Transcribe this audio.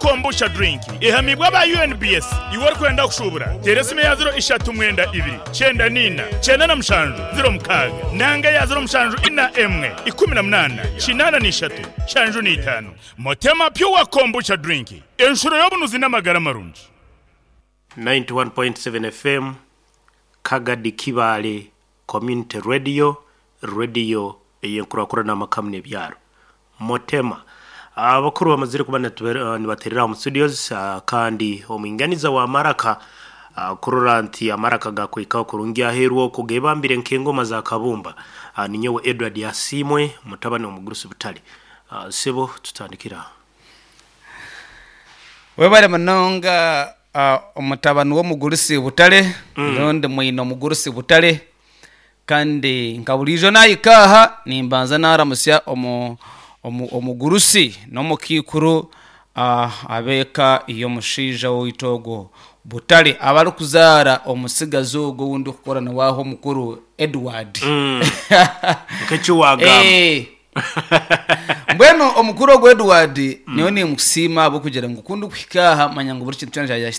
Kombucha Drink ehamiibwe aba UNBS. Iwe orikwenda kushuubura, teera esimu eya ziro ishatu mwenda ibiri, kyenda n'ina, 97, 06 nanga eya ziro mushanju ina emwe, 18, 83, 75. Motema Pure Kombucha Drink, enshuro y'obunuzi n'amagara marungi. 91.7 FM, Kagadi Kibaale Community Radio, rediyo ey'enkurakurana amaka n'ebyaro. Motema. Abakuru bamazire kuba nibaterera omu studios kandi omwinganiza wa maraka kurora nti amaraka gakwikaho kurungi aheeru okwo gebambire nk'engoma za kabumba. Ninyowe Edward Asiimwe mutabani w'omugurusi Butare. Sebo tutandikire aho. Webare munonga omutabani w'omugurusi Butare, rundi mwine omugurusi Butare. Kandi nka buriijo naahika aha nimbanza naaramutsya omugurusi n'omukaikuru ab'eka y'omushaija waitu ogwo Butare abarikuzaara omutsigazi ogwo ou ndikukora nawe aha omukuru Edward. Nk'eki waagamba. Mbwenu omukuru ogwo Edward nyowe nimukusiima ahabw'okugira ngu ku ndikuhika aha manya ngu buri kintu kyona kyagya.